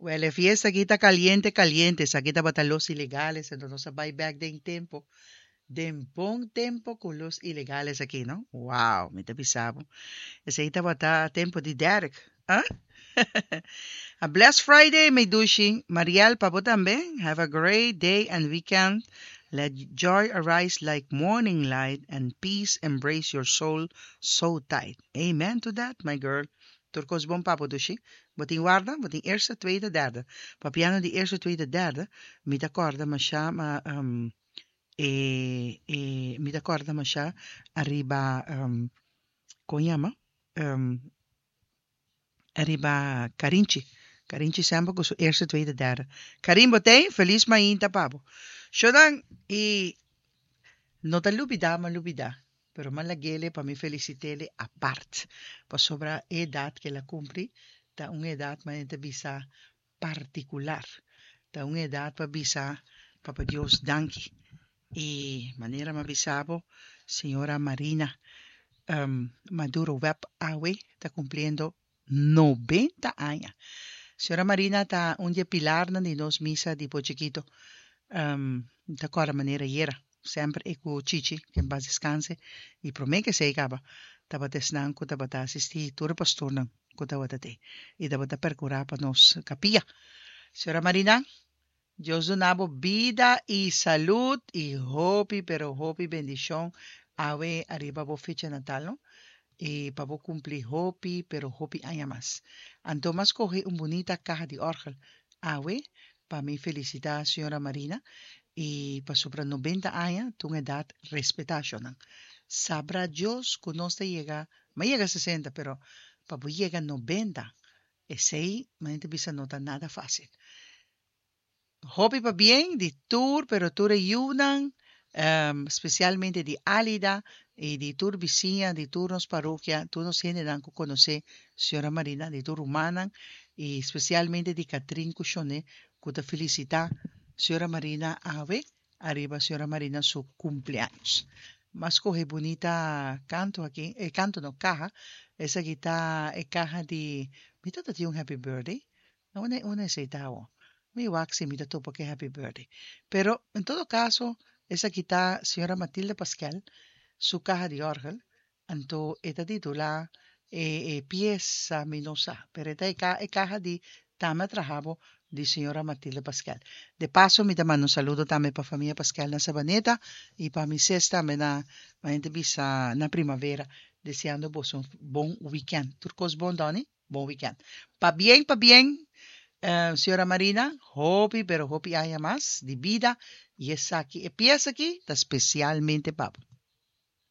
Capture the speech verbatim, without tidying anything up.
Well, e fiesta aki ta caliente, caliente. Esaki tabata Los Ilegales. Anto nos a bay back den tempo. Den bon tempo cu Los Ilegales aki, no? Wow, mi ta bisa bo. Esey tabata tempo di Derek. Ah? A blessed Friday, mi dushi. Mariel, pa bo tambe. Have a great day and weekend. Let joy arise like morning light and peace embrace your soul so tight. Amen to that, my girl. Tur cos bon pa bo, dushi. Bo tin warda, bo tin eerste, tweede, derde. Papiando di eerste, tweede, derde. Mi ta corda masha ma um, e, e, mi ta corda masha ariba um, con yama? Um, ariba Carinchi. Carinchi semper cu su eerste, tweede, derde. Karin, bo t'ey, feliz mainta pa bo. Shodan, y no ta lubida, m'a lubida. Pero m'a lag'ele pa mi felicit'ele apart. Pasobra edad cu el a cumpli, ta un edad mas ta bisa particular. Ta un edad pa bisa Papa Dios danki. Y manera m'a bisa bo, señora Marina um, Maduro Webb awe ta cumpliendo noventa aña. Señora Marina ta un di pilar di nos misa di Chiquito. Um, ta corda manera ayera. Semper e cu Chichi, cu en paz descanse. Y prome cu esey caba. Tabata esnan cu tabata asisti tur pastornan cu tabata t'ey. Y tabata percura pa nos capilla. Señora Marina, Dios duna bo bida y salud y hopi, pero hopi bendicion. Awe ariba bo fecha natal, no? Y pa bo cumpli hopi, pero hopi aña mas. Anto m'a scoge un bunita caha di orgel. Awe, pa mi felicita señora Marina y pasobra noventa aña, ta un edad respeta, shonan. Sabrá Dios cu nos ta yega, m'a yega sesenta, pero pa yega noventa, esey, mi bisa, no ta nada facil. Hopi pabien di tur, pero tur e yiunan, um, specialmente di Alida y di tur bisiña, di tur nos parokia, tur nos hendenan cu conoce señora Marina, di tur rumannan, y specialmente di Catrin Cushone, cu ta felicita señora Marina awe, ariba señora Marina su cumpleaños. M'a scoge bunita canto aki, eh, canto no, caha, esaki ta e caha di, mi tata tin un happy birthday, no, unda, unda esey ta? Mi wak si mi ta topa cu happy birthday. Pero, en todo caso, esaki ta señora Matilde Pascal, su caha di orgel, anto e ta titula e, e pieza mi no sa, pero e ta e, ca, e caha di tambe traha di señora Matilde Pascal. De paso, mi ta manda un saludo tambe pa famia Pascal na Sabaneta y pa mi sis tambe na ma bisa na Primavera, deseando boso un bon weekend. Tur cos bon, Donny? Bon weekend. Pabien, pabien, uh, señora Marina, hopi, pero hopi aña mas di bida. Y esaki, e pieza aki, ta specialmente pa bo.